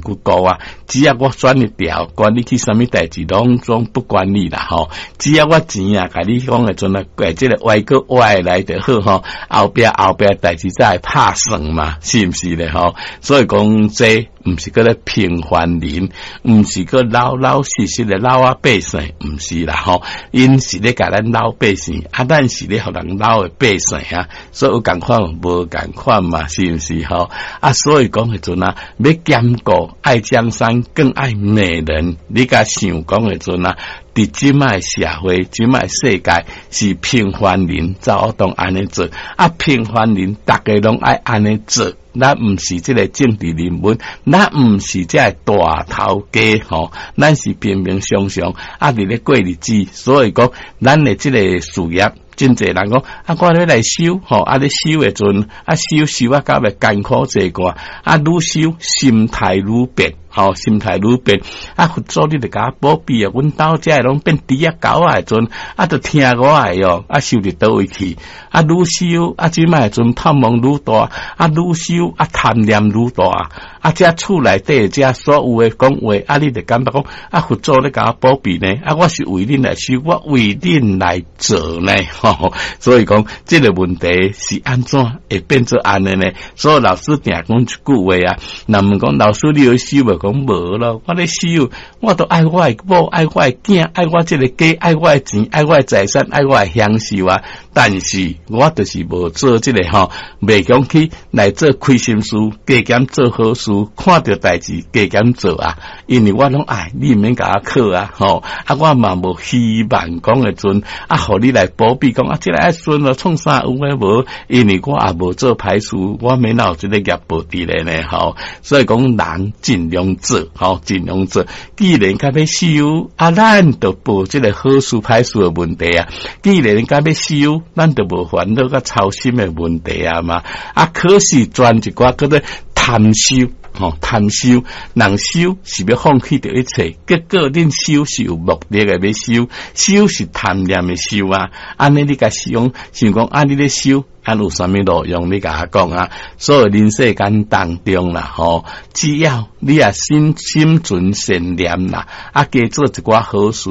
骨辜啊！只要我選一條，管你去啥物代誌，攏總不管你啦吼。只要我錢啊，共你講的陣啊，這个歪閣歪來就好吼。後壁後壁代誌才會拍算嘛，是毋是咧吼？所以講這毋是閣咧平凡人，毋是閣老老實實的老仔百姓，毋是啦吼。𪜶是咧共咱老百姓，啊，咱是咧予人老的百姓啊，所以有仝款無仝款嘛，是毋是吼？啊，所以講彼陣啊，欲兼顧愛江山更愛美人，你共想講彼陣啊，佇這擺社會，這擺世界是平凡人才有當按呢做，啊，平凡人逐家攏愛按呢做。咱毋是這个政治人物，咱毋是這个大頭家吼，咱是平平常常啊，佇咧過日子。所以講，咱的這个事業，真濟人講啊，我欲來修吼，啊，咧修的陣，啊，修修啊，到尾艱苦濟過，啊，愈修心態愈變，吼，心態愈變，啊，佛祖你著共我保庇啊，阮兜遮的攏變豬仔狗仔的陣，啊，著聽我的喲，啊，修佇佗位去，啊，愈修啊，這擺的陣貪妄愈大，啊，愈修啊，貪念愈大，啊，這厝內底這所有的講話，啊，你著感覺講，啊，佛祖咧共我保庇呢，啊，我是為恁來修，我為恁來做呢，吼，所以講這个問題是按怎會變做按呢呢？所以老師定講一句話啊，人問講老師你有修無？講無咯，我咧修，我都愛我的某，愛我的囝，愛我這个家，愛我的錢，愛我的財產，愛我的享受啊！但是我就是無做這个吼，袂講去來做虧心事，加減做好事，看著代誌加減做啊！因為我攏愛，你毋免共我考啊！吼，啊，我嘛無希望講的陣啊，予你來保庇講啊，這个愛順咯，創啥有的無？因為我也無做歹事，我免有這个業報佇咧呢，吼。所以講人盡量做，吼，盡量做。既然較欲修，啊，咱就無這个好事歹事的問題啊。既然較欲修，咱就無煩惱佮操心的問題啊嘛。啊，可是轉一寡閣咧貪修，吼，貪修，人修是欲放棄著一切，結果恁修是有目的的欲修，修是貪念的修啊。按呢你共想，想講啊，你咧修，啊有啥物路用？你共我講啊。所以人世間當中啦，吼，只要你也心心存善念啦，啊，加做一寡好事，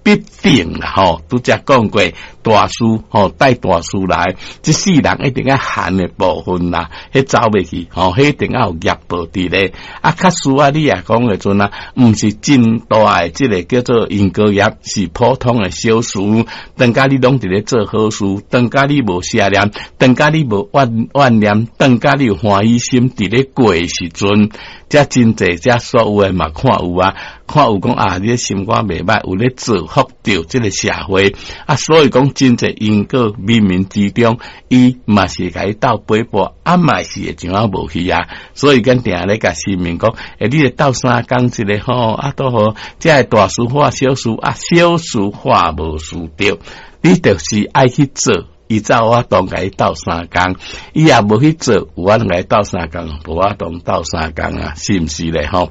必定啦，吼，拄才講過大事吼，帶大事來，這世人一定愛恨的部分啦，彼走袂去，吼，彼一定愛有業報佇咧。啊，較輸啊，你也講的陣啊，毋是真大的這个叫做因果業，是普通的小事。當家你攏佇咧做好事，當家你無邪念，當家你無怨怨念，當家你有歡喜心佇咧過的時陣，遮真濟遮所有的嘛看有啊，看有講啊，你的心肝袂歹，有咧造福著這个社會啊，所以講真濟因果冥冥之中，伊嘛是共伊鬥陪伴，啊嘛是會怎啊無去啊，所以阮定咧共市民講，欸，你咧鬥相共一个吼，啊都好，這个大事化小事，啊小事化無事著，你就是愛去做。伊才有法度共伊鬥相共，伊也無去做，有法度共伊鬥相共，無法度鬥相共啊，是毋是咧吼？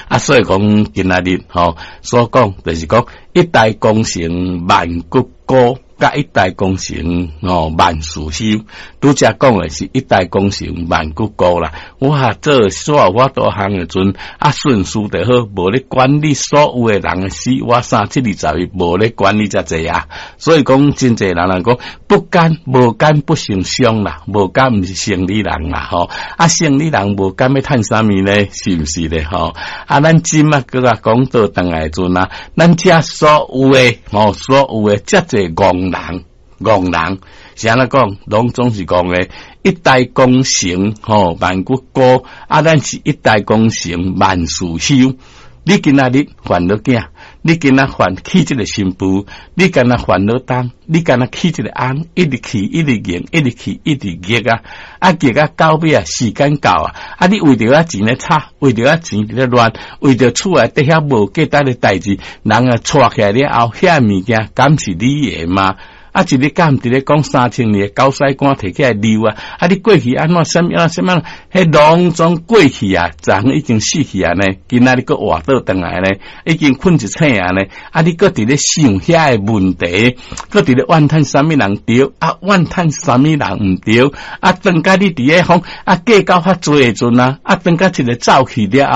啊，所以講今仔日吼所講，就是講一代功成萬骨枯，佮一代功成吼萬事休。拄才講的是一代功成萬骨枯啦。我做所有我多項的陣，啊順序就好，無咧管你所有的人的死活三七二十一，無咧管你遮濟啊。所以講真濟人人講不奸無奸不成商啦，無奸毋是生理人啦吼。啊，生理人無奸欲趁啥物呢？是毋是咧吼？啊，咱今仔閣啊講倒轉來陣啊，咱遮所有的吼，所有的遮濟戇人，戇人是按怎講？攏總是講的，一代功成吼萬骨枯，啊，咱是一代功成萬事休。你今仔日煩惱囝，你今仔煩娶這个新婦，你今仔煩惱東，你今仔娶這个翁，一直去，一直硬，一直去，一直逆啊！啊，逆啊，到尾啊，時間到啊！啊，你為著遐錢咧吵，為著遐錢佇咧亂，為著厝內底遐無價值的代誌，人啊娶起來了後，遐物件敢是你的嗎？啊！一日敢佇咧講3000年的狗屎乾提起來溜啊！啊！你過去按怎啥物啊？啥物？彼攏總過去啊！昨昏已經死去啊呢！今仔日閣活倒轉來呢？已經睏一醒啊呢！啊！你閣佇咧想遐个問題，閣佇咧怨嘆啥物人著？啊！怨嘆啥物人毋著？啊！當甲你佇咧講啊計較較濟的陣啊！啊！當甲一个走去了後。